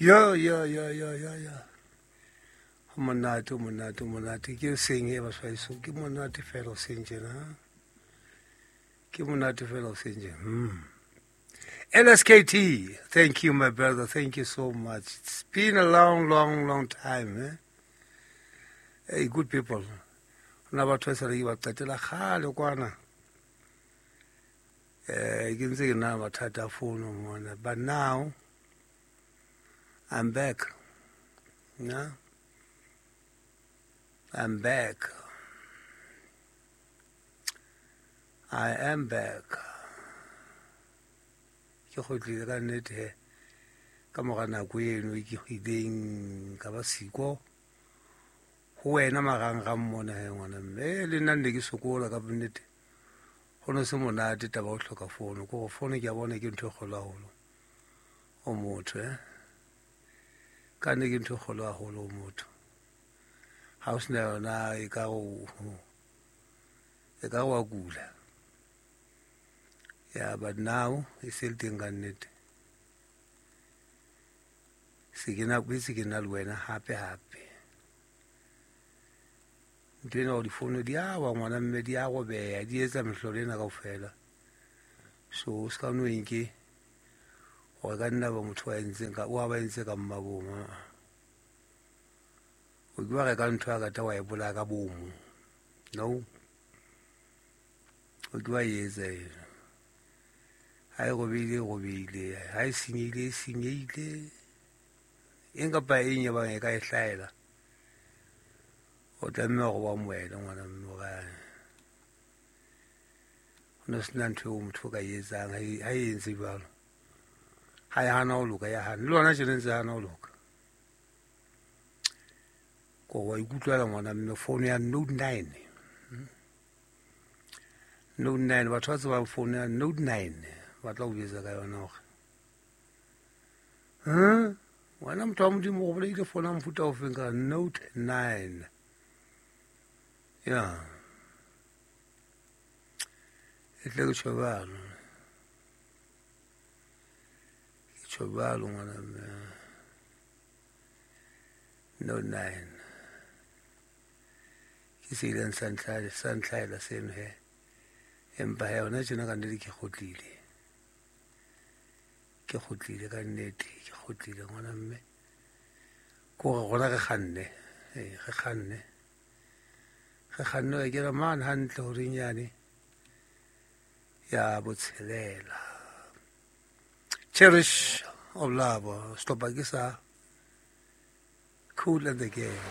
Yo yo yo yo yo yo. Ho monate, ho monate, ho monate. Ke seng e baswaiso. Ke monate fela o seng tjena. Ke monate fela o seng tjena. LSKT, thank you, my brother. Thank you so much. It's been a long, long, long time. Eh? Hey, good people. Na batho ba sa re ba qetela kgale kwana. Ke ntse ke na mathata a fono mona. But now, I'm back. Yeah? I'm back. I am back. Ke kgutlile ka nnete he. Ka mora nako eno e ke ileng ka ba siko ho wena marangrang mona he ngwana mme le nna nne ke sokola ka nnete. Ho no se monate taba o hloka fono. Ke hore fono ke a bona ke ntho e kgolo haholo ho motho, eh. Ka nne ke ntho e kgolo haholo ho motho. Ha o sena yona e ka e ka wa kula. Yeah, but now e se le teng ka nnete. Se ke na boetse ke na le wena hape hape. Ntho ena hore difono di a wa ngwana mme di a robeha, di etsa mehlolo ena kaofela. So o ska no enke hore ka nna ba motho wa entseng ka wa ba entse ka mmabomo. O ke wa reka ntho ya kata wa e bolaya ka bomo. No. O ke wa etsa eno. Ha e robehile, e robehile. Ha e senyehile, e senyehile. Eng kapa eng e bang e ka e hlahela. O tlameha hore wa amohele ngwana mme hore ho no sena ntho eo motho o ka e etsang ha e entse jwalo. Ha e hana ho loka, ya hana. Le hona tjena ntse hana ho loka. Ko wa ikutlwela ngwana mme phone ya Note 9. Note 9 batho ba tsebang phone ya Note 9 ba tla o jwetsa ka yona hore wena motho wa Modimo o bolaile phone ya mofuta o feng ka Note 9. Ya. E tle ke tjho jwalo. Ke tjho jwalo ngwana mme. Note 9. Ke se ileng sa ntlhaela seno he. Empa he hona tjena ka nnete ke kgutlile. Ke kgutlile ka nnete, ke kgutlile ngwana mme. Ke hore rona re kganne, re kganne. Re kganne ho kena mane hantle horeng yane ya botshelela. Cherish of Love, sehlopha ke sa Kool and the Gang.